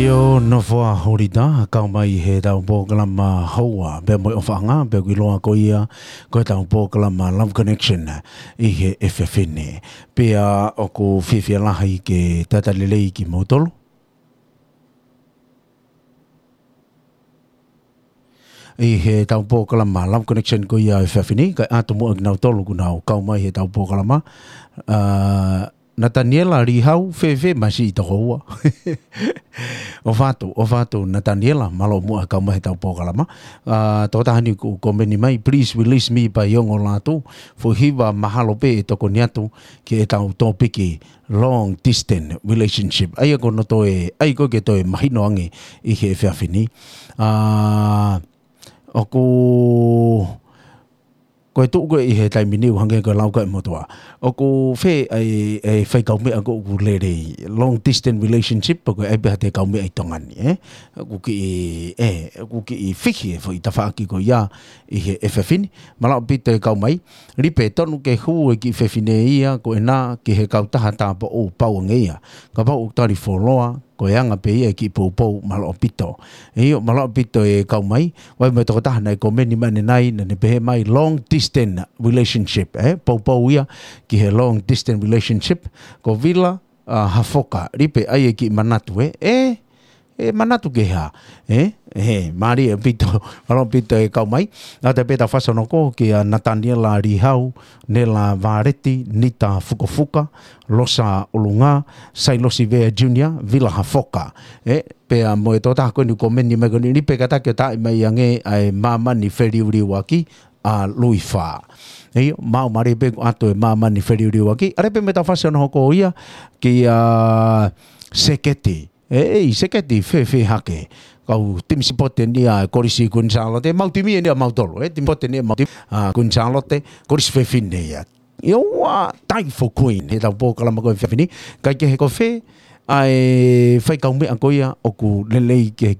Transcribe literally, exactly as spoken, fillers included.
ʻIo, Nofoa Holita, kau mai he tau polokalama houa, pea mo e ʻofaʻanga, pea ʻoku ʻiloa ko ia, ko e tau polokalama Love Connection, ʻi he efiafi ni. Pea ʻoku fiefia lahi ke talitali lelei kimoutolu ʻi he tau polokalama Love Connection ko ia he efiafi ni, kae ʻatu muʻa kinautolu kuo nau kau mai he tau polokalama. ʻA, Nataniela Lihau, fēfē masi ʻi toko ua. ʻOfa atu, ʻofa atu, Nataniela, mālō muʻa kau mai he tau polokalama. ʻA, tokotaha ni ʻoku komeni mai, please release me by Ongo Latu. Foʻi hiva mahalo pē ʻe tokoni atu ki he tau tōpiki long distance relationship. ʻA ia ko hono toe, ʻa ia ko e ke toe mahino ange ʻi he efiafi ni. ʻA, ʻoku, ko e tuʻu ko ē ʻi he taimi ni ʻoku hangē ko e lau ko ē ʻa e motuʻa. ʻOku fē ʻa e, ʻa e fai kaumeʻa ko ē ʻoku lelei. Long distance relationship, pe ko e ʻai pē ha toe kaumeʻa ʻi Tonga ni, ē? ʻOku kiʻi, ē, ʻoku kiʻi fihi e foʻi tafaʻaki ko ia ʻi he efiafi ni. Mālō ʻaupito e kau mai. Lipe, tonu ke hū e kiʻi fefine ia, ko ena ki he kautaha tāupoʻou pau ange ia. Kapau ʻoku tali fuoloa, ko e anga pē ia e kiʻi poupou, mālō ʻaupito. ʻIo, mālō ʻaupito e kau mai, ʻoku ʻi ai mo e tokotaha naʻe komeni mai ʻanenai, naʻa ne pehē mai long distance relationship, ē? Poupou ia ki he long distance relationship, ko Vila, ʻa, Hafoka, lipe ʻai e kiʻi manatu, ē? Ē, ʻe manatu ki he hā, ē? Ē, mālie ʻaupito, mālō ʻaupito e kau mai. ʻA ia pea tau fakaʻosi hono hoko kia Nataniela Lihau, Nela Valeti, Nita Fukofuka, Losa ʻUlungā, Sailosi Vea Junior, Vila Hafoka. Ē, pea mo e tokotaha ko eni ʻoku komeni mai ko eni, lipe kātaki ʻo taaʻi mai ange ʻa e māmani feliuliuaki ʻa Luifa. ʻIo, maʻu mālie pē kuo ʻatu e māmani feliuliuaki. ʻA ia pea tau fakaʻosi hono hoko ia kia Seketi. ʻEi, Seketi, fēfē hake. Kau timi sipote ni ʻa e Kolisi Kuini Sālote, mau timi eni ʻa mautolu, ē, timi sipote ni ʻa mau timi, ʻa, Kuini Sālote, Kolisi Fefine ia. ʻIo, ʻa, Tie for Queen, he tau polokalama ko ē he efiafi ni, kae kehe ko fē ʻa e fai kaumeʻa ko ia ʻoku lelei ke